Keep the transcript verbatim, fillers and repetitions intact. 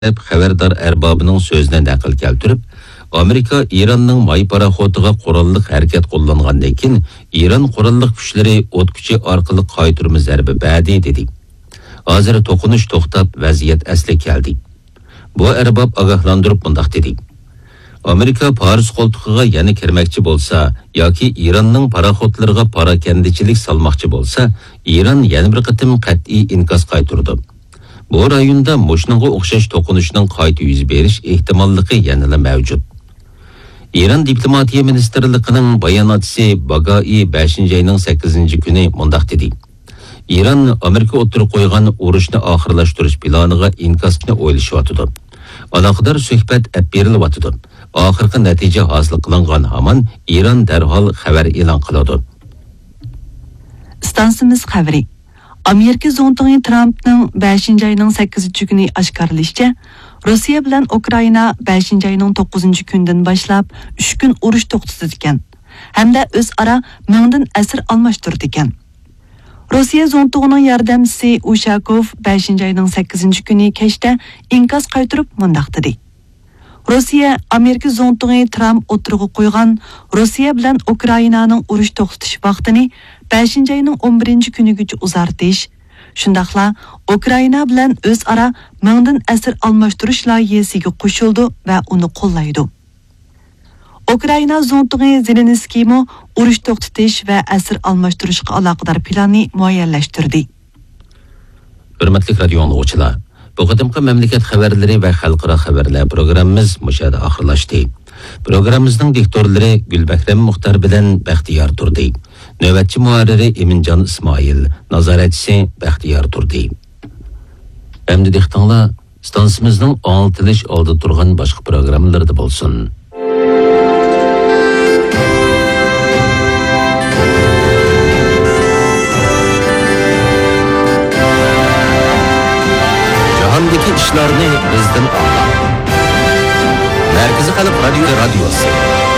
دەپ خەۋەردار ئەربابىنىڭ سۆزىنى نەقىل كەلتۈرۈپ، ئامېرىكا ئىراننىڭ ماي پاراخوتىغا قوراللىق ھەرىكەت قوللانغاندىن كېيىن، ئىران قوراللىق كۈچلىرى ئوت كۈچى ئارقىلىق قايتۇرما زەربە بەردى، دېدى. ھازىر توقۇنۇش توختاپ، ۋەزىيەت ئەسلىگە كەلدى. بۇ ئەرباب ئاگاھلاندۇرۇپ مۇنداق دېدى: ئامېرىكا پارس قولتۇقىغا يەنە كىرمەكچى بولسا ياكى ئىراننىڭ پاراخوتلىرىغا پاراكەندىچىلىك سالماقچى بولسا، ئىران يەنە بىر قېتىم قەتئىي ئىنكاس قايتۇرىدۇ. بۇ رايوندا مۇشۇنىڭغا ئوخشاش توقۇنۇشنىڭ قايتا يۈز بېرىش ئېھتىماللىقى يەنىلا مەۋجۇت. ئىران دىپلوماتىيە مىنىستىرلىقىنىڭ باياناتچىسى باگائى بەشىنچى ئاينىڭ سەككىزىنچى كۈنى مۇنداق دېدى: ئىران ئامېرىكا ئوتتۇرىغا قويغان ئۇرۇشنى ئاخىرلاشتۇرۇش پىلانىغا ئىنكاس بېرىشنى ئويلىشىۋاتىدۇ. ئالاقىدار سۆھبەت ئېلىپ بېرىلىۋاتىدۇ. ئاخىرقى نەتىجە ھاسىل قىلىنغان ھامان ئىران دەرھال خەۋەر ئېلان قىلىدۇ. ئىستانسىمىز خەۋىرى. ئامېرىكا زۇڭتۇڭى ترامپنىڭ بەشىنچى ئاينىڭ سەككىزىنچى كۈنى ئاشكارىلىشىچە، روسىيە بىلەن ئۇكرائىنا بەشىنچى ئاينىڭ توققۇزىنچى كۈنىدىن باشلاپ ئۈچ كۈن ئۇرۇش توختىتىدىكەن ھەمدە ئۆزئارا مىڭدىن ئەسىر ئالماشتۇرىدىكەن. روسىيە زۇڭتۇڭىنىڭ ياردەمچىسى ئۇشاكوف بەشىنچى ئاينىڭ سەككىزىنچى كۈنى كەچتە ئىنكاس قايتۇرۇپ مۇنداق دېدى: روسىيە ئامېرىكا زۇڭتۇڭى ترامپ ئوتتۇرىغا قويغان روسىيە بىلەن ئۇكرائىنانىڭ ئۇرۇش توختىتىش ۋاقتىنى بەشىنچى ئاينىڭ ئون بىرىنچى كۈنىگىچە ئۇزارتىش، شۇنداقلا ئۇكرائىنا بىلەن ئۆزئارا مىڭدىن ئەسىر ئالماشتۇرۇش لايىھەسىگە قوشۇلىدۇ ۋە ئۇنى قوللايدۇ. ئۇكرائىنا زۇڭتۇڭى زېلېنسكىيمۇ ئۇرۇش توختىتىش ۋە ئەسىر ئالماشتۇرۇشقا ئالاقىدار پىلاننى مۇئەييەنلەشتۈردى. ھۆرمەتلىك رادىيو ئاڭلىغۇچىلار، بۇ قېتىمقى مەملىكەت خەۋەرلىرى ۋە خەلقئارا خەۋەرلەر پروگراممىمىز مۇشۇ يەردە ئاخىرلاشتى. پروگراممىمىزنىڭ دىكتورلىرى گۈلبەھرەم مۇختار بىلەن بەختىيار تۇردى. نۆۋەتچى مۇھەررىرى ئىمىنجان ئىسمائىل، نازارەتچىسى بەختىيار تۇردى. ئەمدى دىققىتىڭلار ئىستانسىمىزنىڭ ئاڭلىتىلىش ئالدىدا تۇرغان باشقا پروگراممىلىرىدا بولسۇن. جاھاندىكى ئىشلارنى بىزدىن ئاڭلاڭ. مەركىزىي خەلق رادىيو، رادىيوسى.